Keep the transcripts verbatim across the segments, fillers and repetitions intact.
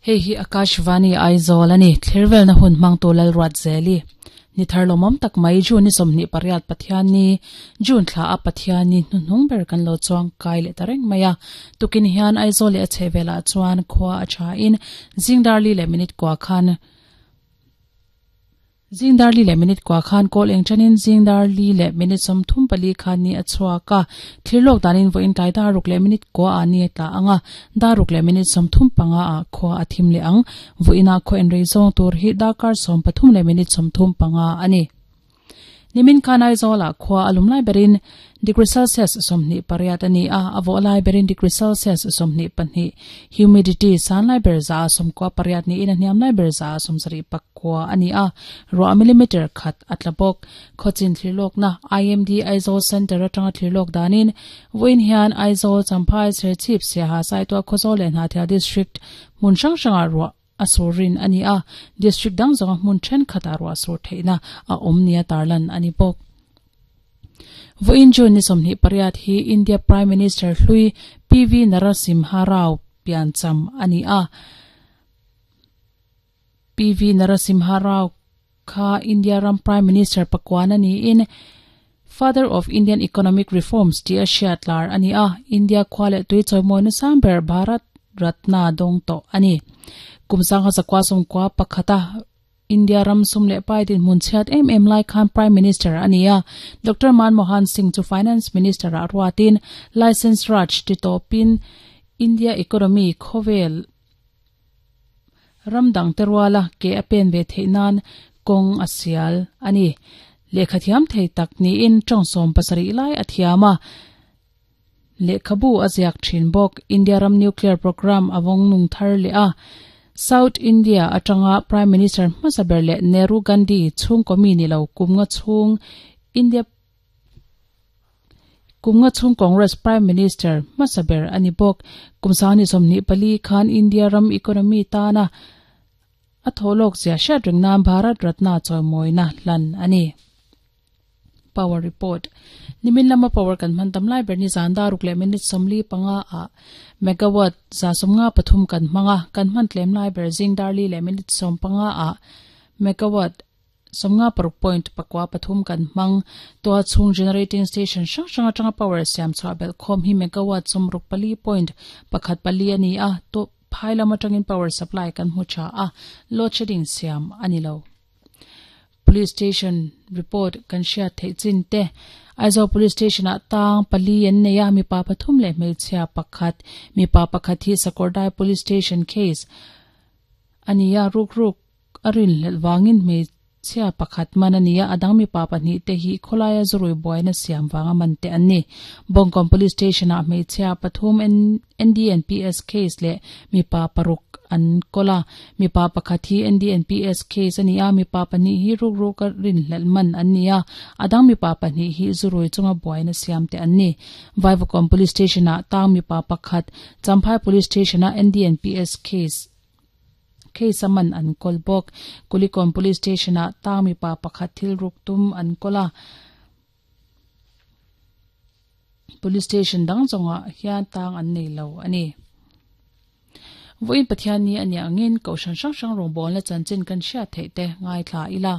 Hei hi Akashvani Aizawl ani thlervel na hun hmang tu Lalruat Zeli ni thar lomam tak mai June ni sawmhnih pariat Pathianni June thla a Pathianni hnuhnung ber kan lo chuang kai leh ta reng mai a tukin hian Aizawl leh a chhehvelah chuan khua a tha in zingdarli leh minute kua khan zingdarli leh minute kua khan kawl eng chanin zingdarli leh minute sawmthum pali khan ni a chhuak a thirlawk danin vawiin tlai daruk leh minute kua ah ni a tla anga daruk leh minute sawmthum panga ah khua a thim leh ang vawiinah khaw en rei zawng tur hi darkar sawm pathum leh minute sawmthum panga ani nimin khan Aizawl ah khua a lum lai berin degree Celsius sawmhnih pariat ani a a vawh lai berin degree Celsius sawmhnih pahnih humidity san lai ber za sawmkua pariat niin a hniam lai ber za sawmsarih pakua ani a ruah millimeter khat a tla bawk khawchin thlirlawkna I M D Aizawl Center atanga thlirlawk danin vawiin hian Aizawl Champhai Serchhip Siaha Saituah Khawzawl leh Hnahthial district hmun hrang hrangah ruah a surin ani a district dang zawnga hmun thenkhatah ruah sur theihna a awm nia tarlan ani bawk vawiin June ni sawmhnih pariat hi India Prime Minister hlui P V Narasimha Rao piancham ani a P V Narasimha Rao kha India ram Prime Minister pakwan ani in Father of Indian Economic Reforms ti a hriatlar ani a India khua leh tui chawimawina samber Bharat Ratna dawng tawh ani kumsang ha zakwa sawmkua pakhata India ram sum leh pai din hmun chhiat em em lai khan Prime Minister ani a Doctor Manmohan Singh chu Finance Minister a ruatin License Raj ti tawpin India economy khawvel ram dang te ruala ke a pen ve theih nan kawng a sial ani lehkha thiam thei tak niin tawng sawm pasarih lai a thiam a lehkhabu a ziak thin bawk India ram nuclear program a vawng nung thar leh a South India atanga Prime Minister hmasaber leh Nehru Gandhi chhung komi ni lo kumnga chhung India kumnga chhung Congress Prime Minister hmasaber ani bawk kumsani sawmhnih pali khan India ram economy tana a tholok zia hriat reng nan Bharat Ratna chawimawina hlan ani Power report nimin lama power kan hman tam lai ber ni zan daruk leh minute sawmli panga ah megawatt za sawmnga pathum kan hmanga kan hman tlem lai ber zing darli leh minute sawm panga ah megawatt sawmnga paruk point pakua pathum kan hmang to chhung generating station hrang hrang atanga power siam chhuah bel khawm hi megawatt sawmruk pali point pakhat pali ani a to phai lam atangin power supply kan hmu tha a load shedding siam ani lo Police station report kan hriat theih chin te Aizawl police station ah tang pali an nei a mipa pathum leh hmeichhia pakhat mipa pakhat hi Sakawrdai police station case ani a ruk ruk a rin hlelh wangin hmeichhia pakhat man ani a adang mipa pahnih te hi khawlaia zurui buaina siam wanga man te an ni Bawngkawn police station ah hmeichhia pathum N D N P S case leh mipa paruk an kola mipa pakhat hi N D N P S case ani a mipa pahnih hi ruk ruk a rin hlelh man an ni a adang mipa pahnih hi zurui chunga buaina siam te an ni Vaivakawn police station ah tang mipa pakhat Champhai police station ah N D N P S case case a man an kawl bawk Kulikawn police station ah tang mipa pakhat thil ruk tum an kola police station dang zawngah hian tang an nei lo ani vawiin Pathianni ani angin kohhran hrang hrang rawngbawlna chanchin kan hriat theih te ngai thla ila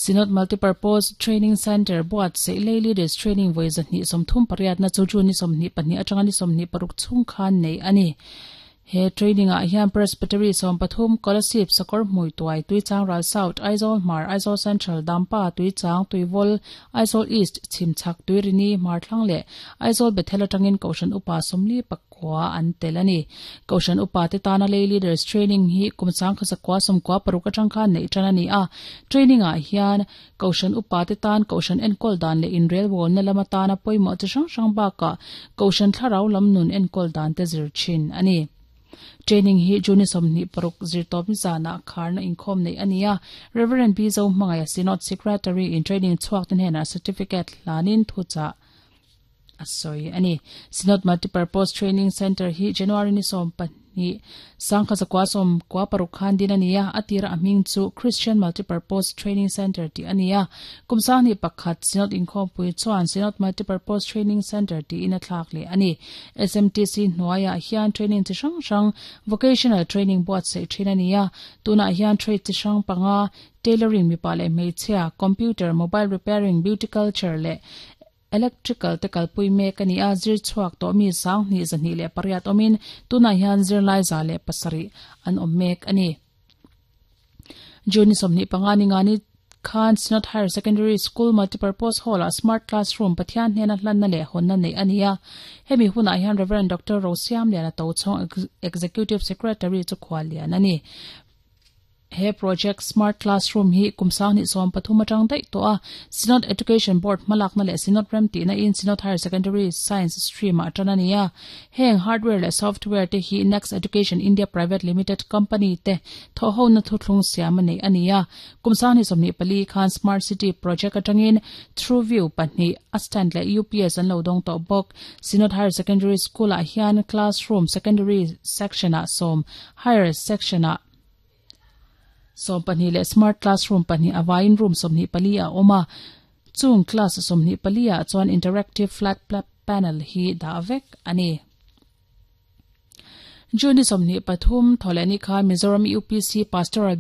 Synod Multipurpose Training Center buat sei lay leaders training vawi zahnih sawmthum pariatna chu June ni sawmhnih pahnih atanga ni sawmhnih paruk chhung khan nei ani he training ah hian Presbytery sawm pathum Kolasib Sakawr hmui tuai Tuichangral South Aizawl Hmar Aizawl Central Dampa Tuichang Tuivawl Aizawl East Chhimchhak Tuirini Hmarthlang leh Aizawl Bethel atangin kohhran upa sawmli pakua an tel ani kohhran upa te tana lay leaders training hi kumsang khasakwa sawmkua paruk atang khan nei tan ani a training ah hian kohhran upa te tan kohhran enkawl dan leh inrel wall na lama tana pawimawh chi hrang hrang bakah kohhran thlarau lam nun enkawl dan te zir thin ani Training hi June sawmhnih paruk zirtawp zana kharna inkhawm nei ania Reverend B Zo Hmangaya Synod Secretary in training chhuak ten hena certificate hlanin thucha a sawi ani Synod Multipurpose Training Center hi January ni sawm ni sangkha zakwa som kwa paruk khan din ania atira aming chu Christian Multipurpose Training Center ti ania kumsang ni pakhat Synod inkhom pui chuan Synod Multipurpose Training Center ti ina thlak le ani S M T C hnuaia hian training chi hrang hrang, vocational training buat sei thin ania. Tuna hian trade chi hrang panga, tailoring mipa leh hmeichhia, computer, mobile repairing, beauty culture leh electrical te kalpui mek ani a. Zir chhuak to mi sang ni zani le pariat omin tuna hian zirlai za le pasari an awm mek ani. June somni panga ni ngani khan Synod Higher Secondary School Multipurpose Hall a Smart Classroom Pathian hnena hlanna leh hawnna nei ania. Hemi hunah hian Reverend Doctor Rosiam Liana Tochhawng, Executive Secretary chu khual lian ani. He project Smart Classroom hi kumsang ni som pathum atang dai to a Synod Education Board malak na le Synod rem ti na in Synod Higher Secondary Science stream a atana. Heng hardware le software te hi Next Education India Private Limited Company te tho ho na thu thlung siam nei ania. Kumsang ni somni pali khan Smart City project atangin TrueView pahnih a stand le U P S an lo dong to bok. Synod Higher Secondary School a hian classroom secondary section a som, higher section a som pahnih leh smart classroom pahnih, awain room sawmhnih pali a awm a. Chung class sawmhnih pali ah chuan interactive flat panel hi dah vek ani. June sawmhnih pathum thawlehni khan Mizoram U P C Pastoral